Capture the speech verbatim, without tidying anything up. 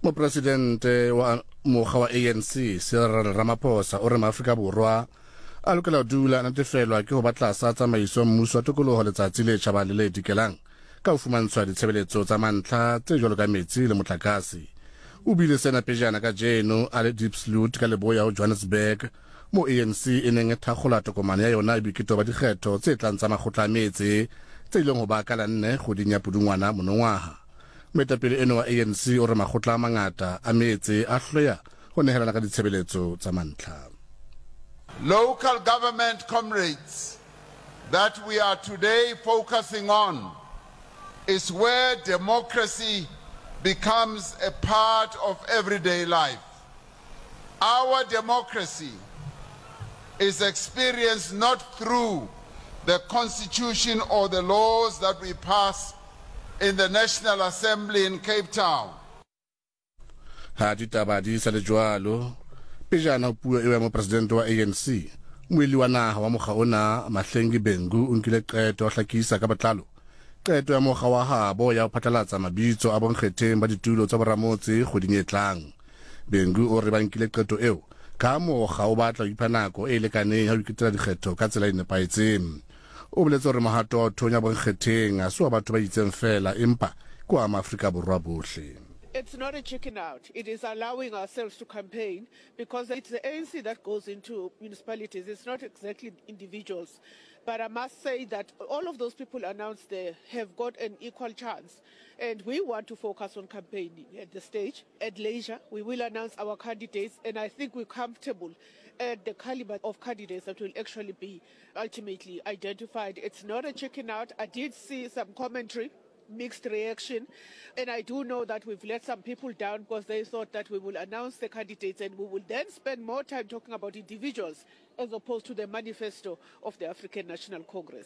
Mopresidente wa mokga wa A N C Cyril Ramaphosa o re Maafrika Borwa a lokela ho dula a natefelwa ke ho ba tlasa tsamaiso mmuso wa tokoloho letsatsi le tjhabang le le dikelang ka ho fumantshwa ditshebeletso tsa mantlha tse jwalo ka metsi le motlakase. O buile sena pejana kajeno a le Diepsloot ka leboya ho Johannesburg, mo A N C e neng e thakgola tokomane ya yona ya boiketo ba dikgetho tse tlang tsa makgotla a metse tse ileng ho ba ka la nne kgweding ya Pudungwana monongwaha. Moetapele eno wa A N C o re makgotla a mangata a metse a hloleha ho nehelana ka ditshebeletso tsa mantlha. Local government, comrades, that we are today focusing on is where democracy becomes a part of everyday life. Our democracy is experienced not through the constitution or the laws that we pass in the National Assembly in Cape Town. Ha ditaba di sa le jwalo, pejana ho puo eo ya mopresidente wa A N C, moeli wa naha wa mokga ona Mahlengi Bhengu o nkile qeto ya ho hlakisa ka botlalo qeto ya mokga wa habo ya ho phatlalatsa mabitso a bonkgetheng ba ditulo tsa boramotse kgweding e tlang. Bhengu o re ba nkile qeto eo ka mokga o batla ho ipha nako e lekaneng ya ho iketela dikgetho ka tsela e nepahetseng. O boletse hore mohato wa ho thonya bonkgetheng ha se wa batho ba itseng feela, empa ke wa Maafrika Borwa bohle. It's not a chicken out. It is allowing ourselves to campaign because it's the A N C that goes into municipalities. It's not exactly individuals. But I must say that all of those people announced there have got an equal chance. And we want to focus on campaigning at the stage. At leisure, we will announce our candidates, and I think we're comfortable at the caliber of candidates that will actually be ultimately identified. It's not a chicken out. I did see some commentary, mixed reaction. And I do know that we've let some people down because they thought that we will announce the candidates and we will then spend more time talking about individuals as opposed to the manifesto of the African National Congress.